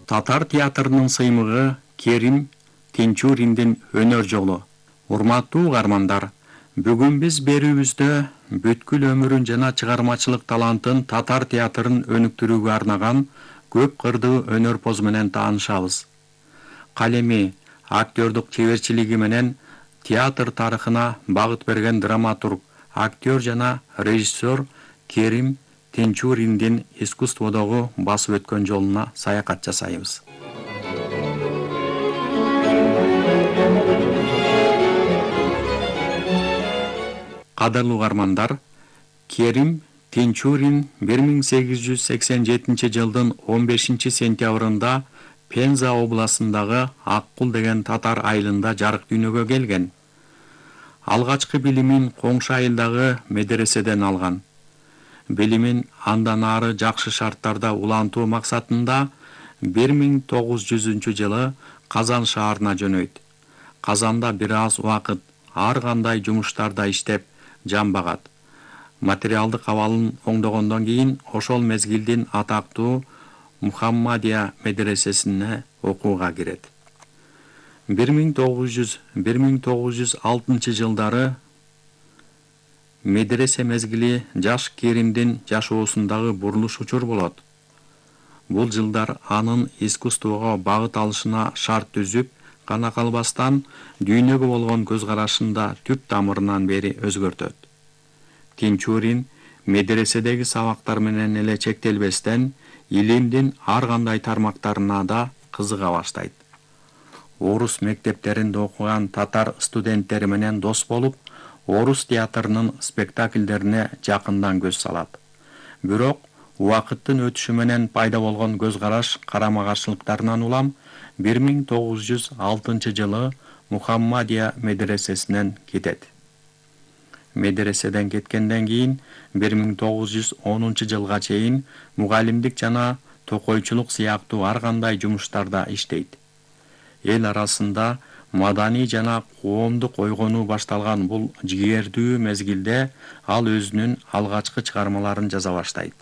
Татар театрынын сыймыгы Керим Тинчуриндин өнөр жолу. Урматтуу угармандар, бүгүн биз берүүбүздө бүткүл өмүрүн жана чыгармачылык талантын татар театрын өнүктүрүүгө арнаган көп кырдуу өнөрпоз менен таанышабыз. Калеми, актёрдук чеберчилиги менен театр тарыхына багыт берген драматург, актер жана режиссер Керим Тинчуриндин искусстводогу басып өткөн жолуна саякат жасайбыз. Кадырлуу угармандар, Керим Тинчурин 1887 жылдын 15 сентябрында Пенза областындагы Аккул деген татар айылында жарык дүйнөгө келген. Алгачкы билимин коңшу айылдагы медреседен алган. Билимин андан ары жакшы шарттарда улантуу максатында 1900 жылы Казан шаарына жөнөйт. Казанда бир аз убакыт ар кандай жумуштарда иштеп жамбагат. Материалдык абалын оңдогондон кийин ошол мезгилдин атактуу Мухаммадия медресесине окууга кирет. 1906 жылдары медресе мезгили жаш Керимдин жашоосундагы бурулуш учур болот. Бул жылдар анын искусствого багыт алышына шарт түзүп гана калбастан, дүйнөгө болгон көз карашында түп тамырынан бери өзгөртөт. Тинчурин медреседеги сабактар менен эле чектелбестен, илимдин ар кандай тармактарына да кызыга баштайт. Орус мектептеринде окуган татар студенттери менен дос болуп, орус театрынын спектакльдерине жакындан көз салат. Бирок убакыттын өтүшү менен пайда болгон көз караш карама-каршылыктарынан улам 1906 жылы Мухаммадия медресесинен кетет. Медреседен кеткенден кийин 1910 жылга чейин мугалимдик жана токойчулук сыяктуу ар кандай жумуштарда иштейт. Эл арасында маданий жана коомдук ойгонуу башталган бул жигердүү мезгилде ал өзүнүн алгачкы чыгармаларын жаза баштайт.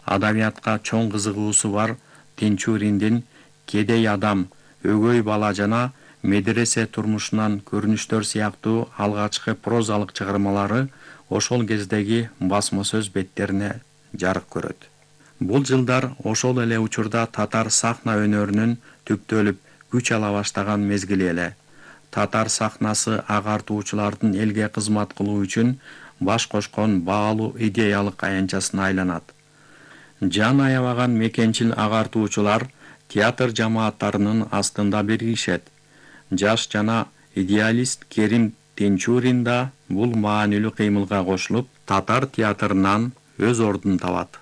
Адабиятка чоң кызыгуусу бар Тинчуриндин Кедей адам, Өгөй бала жана Медресе турмушунан көрүнүштөр сыяктуу алгачкы прозалык чыгармалары ошол кездеги басма сөз беттерине жарык көрөт. Бул жылдар ошол эле учурда татар сахна өнөрүнүн түптөлүп күч ала баштаган мезгили эле. Татар сахнасы агартуучулардын элге кызмат кылуу үчүн баш кошкон баалуу идеялык аянтчасына айланат. Жан аябаган мекенчил агартуучулар театр жамааттарынын астында биригишет. Жаш жана идеалист Керим Тинчурин да бул маанилүү кыймылга кошулуп, татар театрынан өз ордун табат.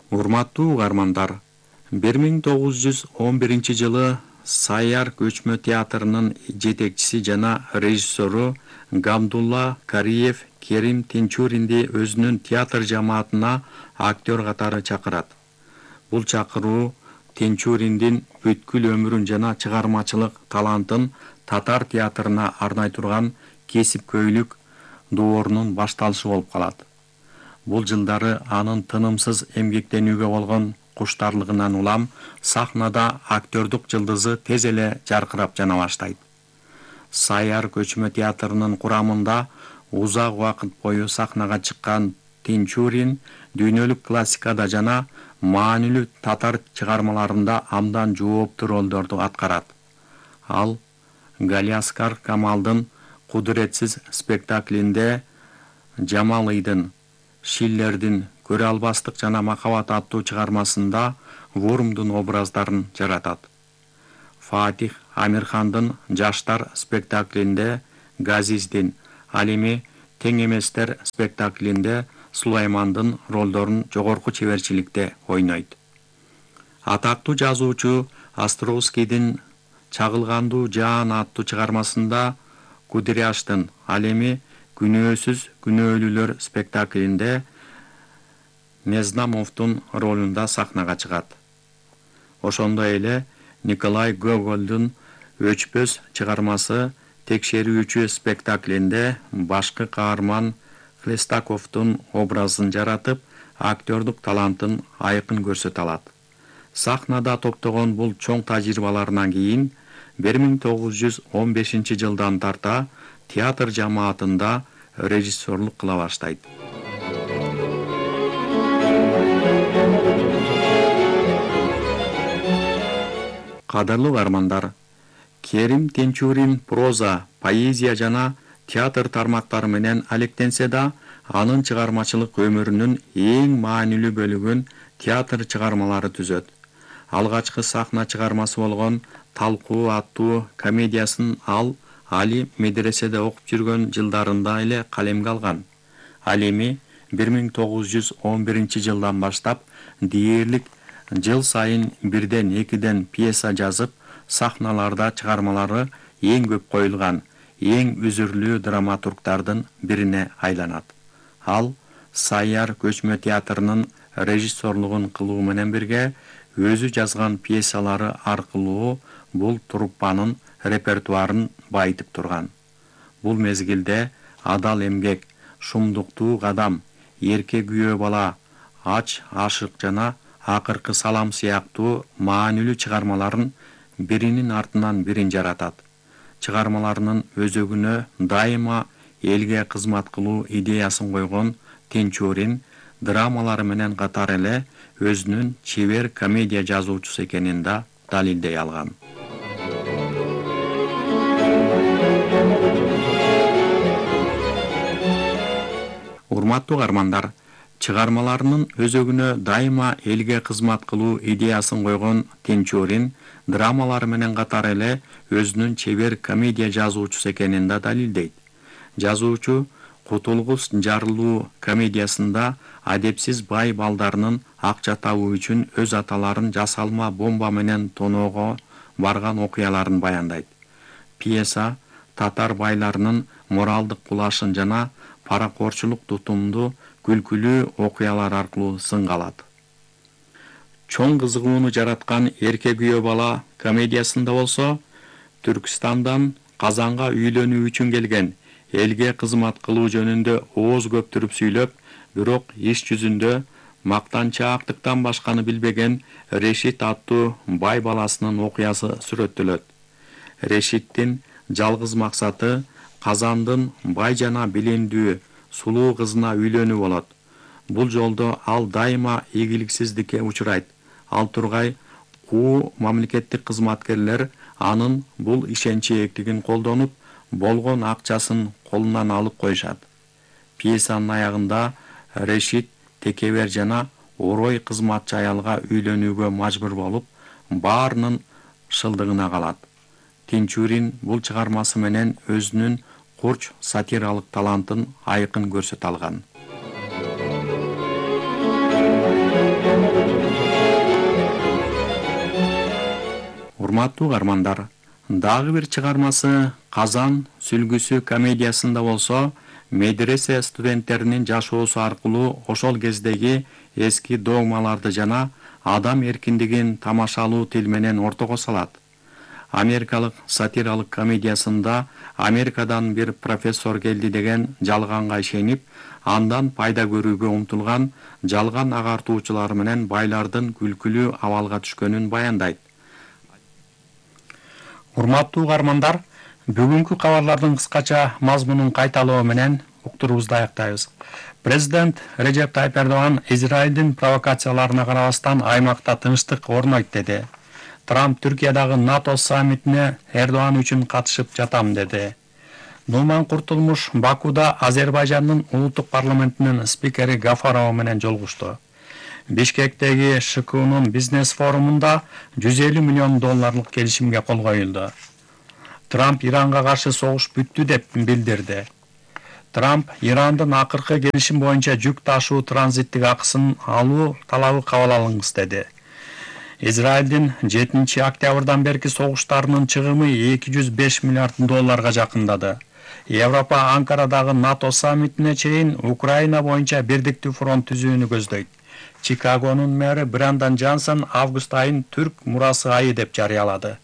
Урматтуу угармандар, 1911 жылы Саяр көчмө театрынын жетекчиси жана режиссеру Гамдулла Кариев Керим Тинчуринди өзүнүн театр жамаатына актер катары чакырат. Бул чакыруу Тинчуриндин бүткүл өмүрүн жана чыгармачылык талантын татар театрына арнай турган кесипкөйлүк доорунун башталышы болуп калат. Бул жылдары анын тынымсыз эмгектенүүгө болгон куштарлыгынан улам сахнада актердук жылдызы тез эле жаркырап жана баштайт. Саяр көчмө театрынын курамында узак убакыт бою сахнага чыккан Тинчурин дүйнөлүк классикада жана маанилүү татар чыгармаларында абдан жооптуу ролдорду аткарат. Ал Галиаскар Камалдын Кудуретсиз спектаклинде Жамалыйдын, Шиллердин Көрө албастык жана Махабат аттуу чыгармасында Вурмдун образдарын жаратат. Фатих Амирхандын Жаштар спектаклинде Газиздин, ал эми Тең эместер спектаклинде Сулаймандын ролдорун жогорку чеберчиликте ойнойт. Атактуу жазуучу Островскийдин Чагылгандуу жаан аттуу чыгармасында Кудряштын, ал эми Күнөөсүз күнөөлүүлөр спектаклинде Незнамовдун ролунда сахнага чыгат. Ошондой эле Николай Гогольдун Өчпөс чыгармасы Текшерүүчү спектаклинде башкы каарман Хлестаковдун образын жаратып, актёрдук талантын айкын көрсөтө алат. Сахнада топтогон бул чоң тажрыйбаларынан кийин 1915 жылдан тарта театр жамаатында режиссерлук кыла баштайт. Кадырлуу угармандар, Керим Тинчурин проза, поэзия жана театр тармактары менен алектенсе да, анын чыгармачылык өмүрүнүн эң маанилүү бөлүгүн театр чыгармалары түзөт. Алгачкы сахна чыгармасы болгон Талкуу аттуу комедиясын ал Али медреседе окуп жүргөн жылдарында эле калемге алган. Ал эми 1911 жылдан баштап дээрлик жыл сайын 1-2 пьеса жазып, сахналарда чыгармалары эң көп коюлган, эң үзүрлүү драматургдардын бирине айланат. Ал Сайяр көчмө театрынын режиссерлугун кылуу менен бирге өзү жазган пьесалары аркылуу бул труппанын репертуарын байытып турган. Бул мезгилде Адал эмгек, Шумдуктуу кадам, Эрке күйөө бала, Ач ашык жана Акыркы салам сыяктуу маанилүү чыгармаларын биринин артынан бирин жаратат. Чыгармаларынын өзөгүнө дайыма элге кызмат кылуу идеясын койгон Тинчурин драмалары менен катар эле өзүнүн чебер комедия жазуучусу экенин да далилдей алган. Урматтуу угармандар, чыгармаларынын өзөгүнө дайыма элге кызмат кылуу идеясын койгон Тинчурин драмалары менен катар эле өзүнүн чебер комедия жазуучусу экенин да далилдейт. Жазуучу Кутулгус жарылуу комедиясында адепсиз бай балдарынын акча табуу үчүн өз аталарын жасалма бомба менен тоноого барган окуяларын баяндайт. Пьеса татар байларынын моралдык кулашын жана паракорчулук тутумду күлкүлүү окуялар аркылуу сынга алат. Чоң кызыгууну жараткан Эрке күйөө бала комедиясында болсо, Түркстандан Казанга үйлөнүү үчүн келген, элге кызмат кылуу жөнүндө ооз көптүрүп сүйлөп, бирок иш жүзүндө мактанчаактыктан башканы билбеген Решит аттуу бай баласынын окуясы сүрөттөлөт. Решиттин жалгыз максаты Казандын бай жана билимдүү сулуу кызына үйлөнүү болот. Бул жолдо ал дайыма ийгиликсиздикке учурайт. Ал тургай куу мамлекеттик кызматкерлер анын бул ишенчээктигин колдонуп, болгон акчасын колунан алып коюшат. Пьесанын аягында Решит текебер жана орой кызматчы аялга үйлөнүүгө мажбур болуп, баарынын шылдыгына калат. Тинчурин бул чыгармасы менен өзүнүн курч сатиралык талантын айкын көрсөтө алган. Урматтуу угармандар, дагы бир чыгармасы Казан сүлгүсү комедиясында болсо, медресе студенттеринин жашоосу аркылуу ошол кездеги эски догмаларды жана адам эркиндигин тамашалуу тил менен ортого салат. Америкалык сатиралык комедиясында Америкадан бир профессор келди деген жалганга ишенип, андан пайда көрүүгө умтулган жалган агартуучулар менен байлардын күлкүлүү абалга түшкөнүн баяндайт. Урматтуу угармандар, бүгүнкү кабарлардын кыскача мазмунун кайталоо менен уктуруубузду аяктайбыз. Президент Режеп Тайып Эрдоган Израилдин провокацияларына карабастан аймакта тынчтык орнойт деди. Трамп Түркиядагы НАТО саммитине Эрдоган үчүн катышып жатам деди. Нуман Куртулмуш Бакуда Азербайжандын улуттук парламентинин спикери Гафарова менен жолугушту. Бишкектеги ШКУнун бизнес форумунда $150 миллион келишимге кол коюлду. Трамп Иранга каршы согуш бүттү деп билдирди. Трамп Ирандын акыркы келишим боюнча жүк ташуу транзиттик акысын алуу талабы кабыл алыңыз деди. Израилдин 7 октябрдан берки согуштарынын чыгымы $205 миллиард жакындады. Европа Анкарадагы НАТО саммитине чейин Украина боюнча бирдиктүү фронт түзүүнү көздөйт. Чикагонун мэрі Брандан Джонсон август айын Түрк мурасы айы деп жарыялады.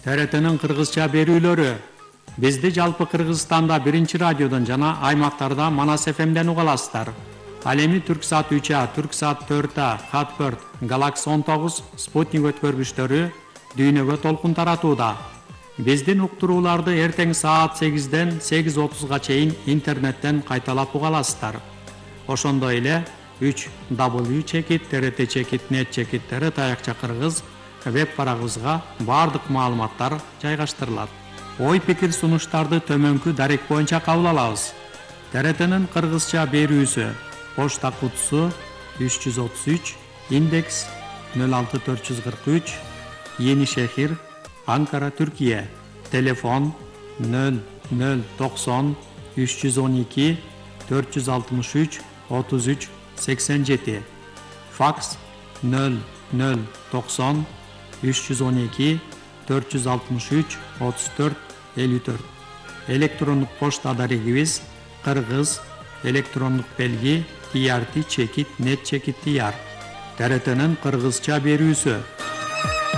ТРТнын кыргызча берүүлөрү Бизди жалпы Кыргызстанда 1 радиодон жана аймактарда Манас ФМден уга аласыздар. Ал эми Түрксат 3А, Түрксат 4А, Хатберт, Галакс 19, Спутник өткөргүчтөрү дүйнөгө толкун таратууда. Биздин уктурууларды эртең саат 8ден 8:30га чейин интернеттен кайталап уга аласыздар. Ошондой эле 3w.trt.net таякча кыргыз веб барагыбызга бардык маалыматтар жайгаштырылат. Ой пикир сунуштарды төмөнкү дарек боюнча кабыл алабыз. ТРТнын кыргызча берүүсү: почта кутусу 333, индекс 06443, Yeni Şehir, Ankara, Türkiye. Telefon 0090 312 463 33 87. Faks 0090 312 463 34 54. Elektronluk poçta adarigimiz Kırgız elektronluk belgi trt.net.tr. TRT'nin Kırgızça berүүsü.